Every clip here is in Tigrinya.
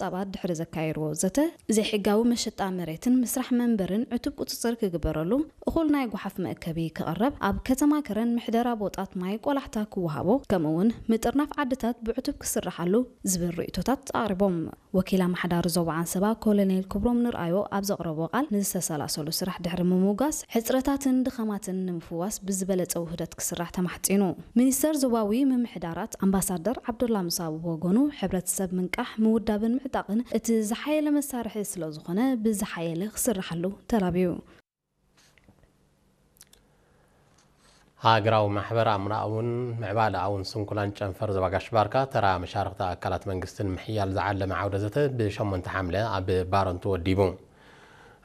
ጸብጻባት ድሕሪ ዘካየድዎ ዘተ፣ ዘይሕጋዊ መሸጣ መሬትን ምስራሕ መንበርን ዕቱብ ቁጽጽር ክግበረሉ፣ እኹል ናይ ጓሓፍ መእከቢ ክቐረብ፣ ኣብ ከተማ ከረን ምሕደራ ቦጣት ማይ ቆላሕታ ክወሃቦ፣ ከምኡ እውን ምጥርናፍ ዓድታት ብዕቱብ ክስራሓሉ ዝብል ርእይቶታት ኣቕሪቦም። ወኪል ኣመሓዳሪ ዞባ ዓንሰባ ኮሎኔል ክብሮም ንርኣዮ ኣብ ዘቕረቦ ቃል፣ ንዝተሰላሰሉ ስራሕ ድሕሪ ምምጓስ፣ ሕጽረታትን ድኸማትን ንምፍዋስ ብዝበለጸ ውህደት ክስራሕ ተማሕጺኑ። ሚኒስተር ዞባዊ ምምሕዳራት ኣምባሳደር ዓብዱላ ሙሳ ብወገኑ፣ ሕብረተሰብ ምንቃሕ፣ ምውዳብን ምዕጣቕን እቲ ዝሓየለ መሳርሒ ስለ ዝኾነ፣ ብዝሓየለ ክስርሓሉ ተላብዩ። ሃገራዊ ማሕበር ኣምራኣውን ምዕባለኣውን ስንኩላን ጨንፈር ዞባ ጋሽ ባርካ ተራ መሻርኽቲ ኣካላት መንግስትን ምሕያል ዝዓለመ ዓውደ ዘተ ብሸሞንተ ሓምለ ኣብ ባረንቱ ወዲቡ።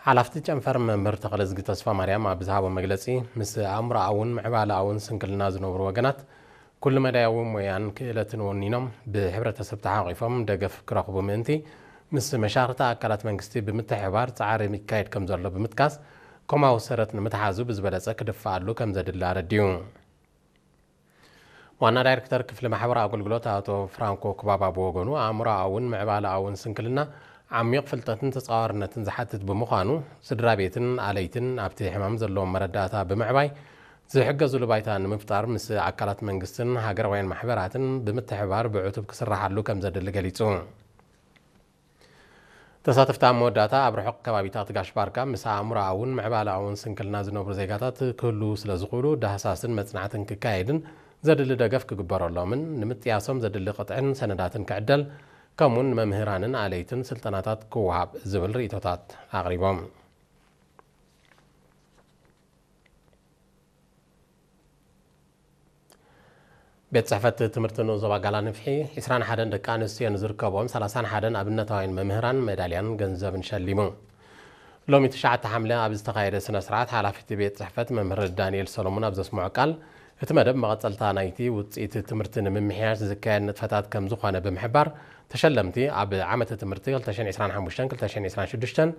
ሓላፍቲ ጨንፈር መምህር ተኽለዝጊ ተስፋ ማርያም ኣብ ዝሃቦ መግለጺ፣ ምስ ኣእምሮኣውን ምዕባለኣውን ስንክልና ዝነብሩ ወገናት ኩሉ መዳያዊ ሞያን ክእለትን ወኒኖም ብሕብረተሰብ ተሓቂፎም ደገፍ ክረኽቡ ምእንቲ ምስ መሻርኽቲ ኣካላት መንግስቲ ብምትሕብባር ጻዕሪ ይካየድ ከም ዘሎ ብምጥቃስ፣ ኮማዊ ሰረት ንምትሓዙ ብዝበለጸ ክድፋኣሉ ከም ዘድሊ ኣረዲኡ። ዋና ዳይሬክተር ክፍሊ ማሕበራዊ ኣገልግሎት ኣቶ ፍራንኮ ክባባ ብወገኑ፣ ኣእምሮኣውን ምዕባለኣውን ስንክልና ዓሚቕ ፍልጠትን ተጻዋርነትን ዝሓትት ብምዃኑ፣ ስድራ ቤትን ኣለይትን ኣብቲ ሕማም ዘለዎም መረዳእታ ብምዕባይ ዝሕገዙሉ ባይታ ንምፍጣር ምስ ኣካላት መንግስትን ሃገራውያን ማሕበራትን ብምትሕብባር ብዕቱብ ክስራሓሉ ከም ዘድሊ ገሊጹ። ተሳተፍቲ ኣብ መወዳእታ ኣብ ርሑቕ ከባቢታት ጋሽ ባርካ ምስ ኣእምሮኣውን ምዕባለኣውን ስንክልና ዝነብሩ ዜጋታት ክህልዉ ስለ ዝኽእሉ ዳህሳስን መጽናዕትን ክካየድን ዘድሊ ደገፍ ክግበረሎምን ንምጥያሶም ዘድሊ ቅጥዕን ሰነዳትን ክዕደል ከምኡውን ንመምህራንን ኣለይትን ስልጠናታት ክወሃብ ዝብል ርእይቶታት ኣቕሪቦም። ቤት ጽሕፈት ትምህርቲ ንኡስ ዞባ ጋላ ንፍሒ፣ ዕስራን ሓደን ደቂ ኣንስትዮ ንዝርከብዎም ሰላሳን ሓደን ኣብነታውያን መምህራን ሜዳልያን ገንዘብን ሸሊሙ። ሎሚ ትሽዓተ ሓምለ ኣብ ዝተኻየደ ስነ ስርዓት፣ ሓላፊ እቲ ቤት ጽሕፈት መምህር ዳንኤል ሰሎሞን ኣብ ዘስምዖ ቃል፣ እቲ መደብ መቐጸልታ ናይቲ ውጽኢት ትምህርቲ ንምምሕያሽ ዝካየድ ንጥፈታት ከም ዝኾነ ብምሕባር፣ ተሸለምቲ ኣብ ዓመተ ትምህርቲ ክልተ ሽሕን ዕስራን ሓሙሽተን ክልተ ሽሕን ዕስራን ሽዱሽተን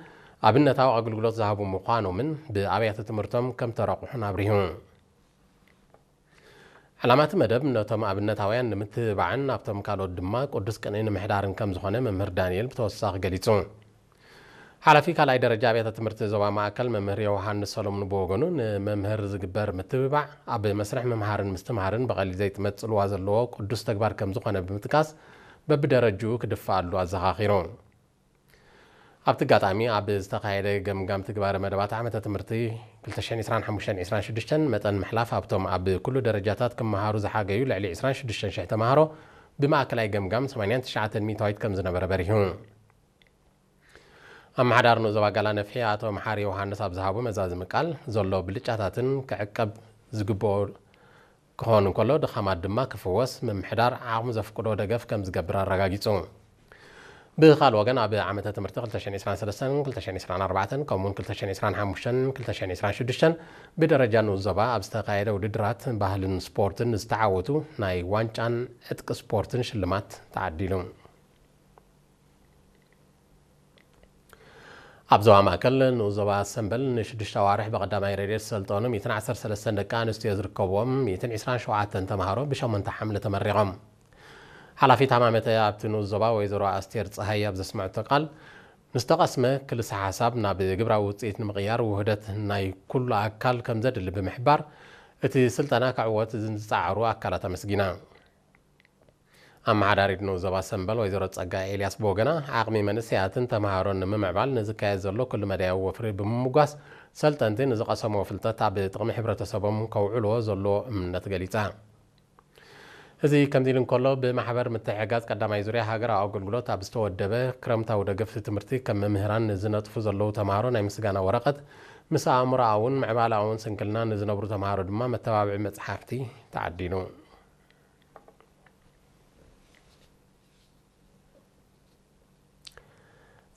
ኣብነታዊ ኣገልግሎት ዝሃቡ ምዃኖምን ብኣብያተ ትምህርቶም ከም ተረቑሑን ኣብሪሁ። ዕላማ እቲ መደብ ነቶም ኣብነታውያን ንምትብባዕን ኣብቶም ካልኦት ድማ ቅዱስ ቅንኢ ንምሕዳርን ከም ዝኾነ መምህር ዳንኤል ብተወሳኺ ገሊጹ። ሓላፊ ካልኣይ ደረጃ ኣብያተ ትምህርቲ ዞባ ማእከል መምህር ዮሃንስ ሰሎሙን ብወገኑ፣ ንመምህር ዝግበር ምትብባዕ ኣብ መስርሕ ምምሃርን ምስትምሃርን ብቐሊል ዘይትመጽእ ጽልዋ ዘለዎ ቅዱስ ተግባር ከም ዝኾነ ብምጥቃስ፣ በብደረጅኡ ክድፋኣሉ ኣዘኻኺሩ። ኣብቲ ኣጋጣሚ ኣብ ዝተኻየደ ገምጋም ትግባረ መደባት ዓመተ ትምህርቲ ክልተ ሽሕን ዕስራን ሓሙሽተን ዕስራን ሽዱሽተን መጠን ምሕላፍ ኣብቶም ኣብ ኩሉ ደረጃታት ክመሃሩ ዝሓገዩ ልዕሊ ዕስራን ሽዱሽተን ሽሕ ተማሃሮ ብማእከላይ ገምጋም ሰማንያን ትሽዓተን ሚእታዊት ከም ዝነበረ በሪሁ። ኣመሓዳሪ ንኡስ ዞባ ጋላ ነፍሒ ኣቶ መሓሪ ዮሃንስ ኣብ ዝሃቦ መዛዝሚ ቃል፣ ዘሎ ብልጫታትን ክዕቀብ ዝግብኦ ክኸውን እንከሎ፣ ድኻማት ድማ ክፍወስ ምምሕዳር ዓቕሙ ዘፍቅዶ ደገፍ ከም ዝገብር ኣረጋጊጹ። ብኻልእ ወገን፣ ኣብ ዓመተ ትምህርቲ ክልተ ሽሕን ዕስራን ሰለስተን ክልተ ሽሕን ዕስራን ኣርባዕተን ከምኡውን ክልተ ሽሕን ዕስራን ሓሙሽተን ክልተ ሽሕን ዕስራን ሽዱሽተን ብደረጃ ንኡስ ዞባ ኣብ ዝተኻየደ ውድድራት ባህልን ስፖርትን ዝተዓወቱ ናይ ዋንጫን ዕጥቂ ስፖርትን ሽልማት ተዓዲሉ። ኣብ ዞባ ማእከል ንኡስ ዞባ ሰምበል ንሽዱሽተ ኣዋርሕ ብቐዳማይ ረድኤት ዝሰልጠኑ ሚእትን ዓሰርተ ሰለስተን ደቂ ኣንስትዮ ዝርከብዎም ሚእትን ዕስራን ሸውዓተን ተምሃሮ ብሸሞንተ ሓምለ ተመሪቖም። ሓላፊት ሃማመተ ኣብቲ ንኡስ ዞባ ወይዘሮ ኣስቴር ጸሃይ ኣብ ዘስመዐቶ ቃል፣ ንዝተቐስመ ክልሰ ሓሳብ ናብ ግብራዊ ውጽኢት ንምቕያር ውህደት ናይ ኩሉ ኣካል ከም ዘድሊ ብምሕባር፣ እቲ ስልጠና ክዕወት ንዝጸዓሩ ኣካላት ኣመስጊና። ኣመሓዳሪት ንኡስ ዞባ ሰምበል ወይዘሮ ጸጋ ኤልያስ ብወገና፣ ዓቕሚ መንእሰያትን ተምሃሮን ንምምዕባል ንዝካየድ ዘሎ ኩሉ መዳያዊ ወፍሪ ብምምጓስ፣ ሰልጠንቲ ንዝቐሰምዎ ፍልጠት ኣብ ጥቕሚ ሕብረተሰቦም ከውዕልዎ ዘለዎ እምነት ገሊጻ። እዚ ከምዚ ኢሉ እንከሎ፣ ብማሕበር ምትሕግጋዝ ቀዳማይ ዙርያ ሃገራዊ ኣገልግሎት ኣብ ዝተወደበ ክረምታዊ ደገፍቲ ትምህርቲ፣ ከም መምህራን ንዝነጥፉ ዘለዉ ተምሃሮ ናይ ምስጋና ወረቐት ምስ ኣእምሮኣውን ምዕባለኣውን ስንክልና ንዝነብሩ ተምሃሮ ድማ መተባብዒ መጽሓፍቲ ተዓዲሉ።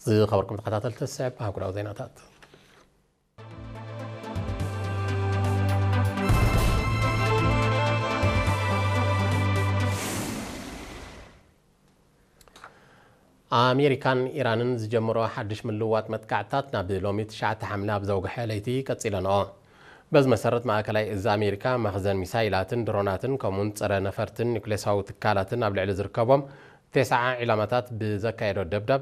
ዝኸበርኩም ተኸታተልቲ፣ ዝስዕብ ኣህጉራዊ ዜናታት። ኣሜሪካን ኢራንን ዝጀመሮ ሓድሽ ምልውዋጥ መጥቃዕትታት ናብ ሎሚ ትሽዓተ ሓምለ ኣብ ዘውግሐ ለይቲ ቀጺለንኦ። በዚ መሰረት፣ ማእከላይ እዚ ኣሜሪካ መኽዘን ሚሳይላትን ድሮናትን ከምኡውን ጸረ ነፈርትን ኒኩሌሳዊ ትካላትን ኣብ ልዕሊ ዝርከቦም ተስዓ ዒላማታት ብዘካየዶ ደብዳብ፣